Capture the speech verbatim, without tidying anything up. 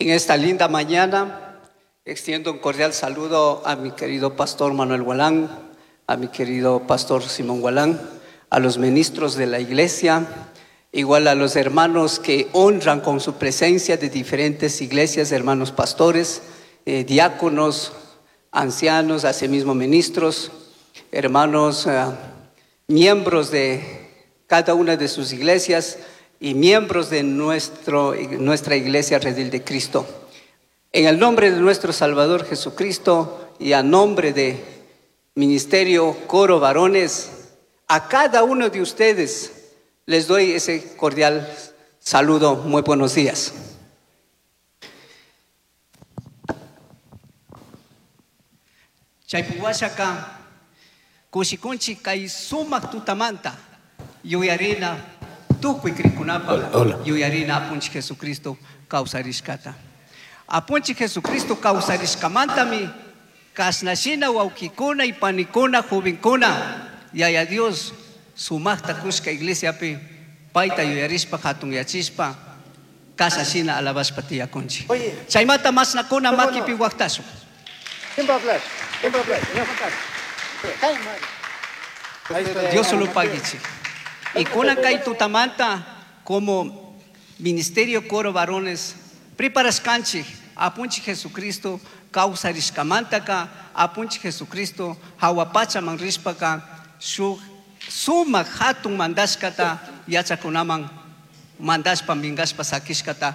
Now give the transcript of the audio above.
En esta linda mañana extiendo un cordial saludo a mi querido pastor Manuel Gualán, a mi querido pastor Simón Gualán, a los ministros de la iglesia, igual a los hermanos que honran con su presencia de diferentes iglesias, hermanos pastores, eh, diáconos, ancianos, asimismo ministros, hermanos eh, miembros de cada una de sus iglesias y miembros de nuestro, nuestra iglesia Redil de Cristo. En el nombre de nuestro Salvador Jesucristo y a nombre de Ministerio Coro Varones, a cada uno de ustedes les doy ese cordial saludo. Muy buenos días. Chaypuwashaka kushikunchik kay sumak tutamanta yuyarina tukuy krikunapaq yuyarina apunchik Jesucristo kawsarishkata. Apunchik Jesucristo kawsarishkamantami kashnashina wawkikuna y panikuna jovenkuna Yaya Dios sumakta kushka iglesiapi payta yuyarishpa hatunyachishpa kasashina alabashpa tiyakunchik. Chaymanta mashnakuna makipi waqtashun. ¿Quién va a hablar? ¿Quién va a hablar? Dios solo paguichik. Y kunan kay tutamanta como Ministerio Coro Varones preparashkanchik apunchik Jesucristo kawsarishkamantaka apunchik Jesucristo hawa pachaman rishpaka shuk sumak hatun mandashkata yachakunaman mandashpa minkashpa sakishkata